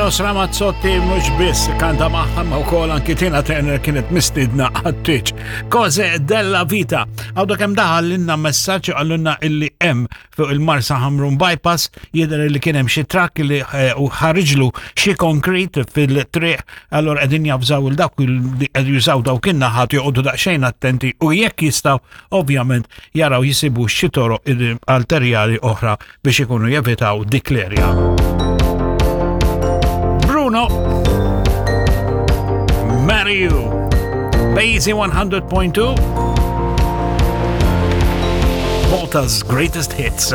Eros Ramazzotti mhux biss kanta magħha ma wkoll anki Tina Turner kienet mistidna għat-tieġ. Cose della vita. Għawda kemm daħal lilna messaġġ għallunna illi hemm fuq il-Marsa Ħamrun Bypass jidher li kien hemm xi trakk li eh, ħariġlu xi konkrit fil-triq allora qegħdin javżaw il dawk li qed jużaw dawk in-naħat joqogħdu daqsxejn attenti u jekk jistgħu ovvjament jaraw jisibu xi toroq alterjali oħra biex ikunu jevitaw dik l-erja. Bruno Marry You Basie 100.2 Malta's greatest hits.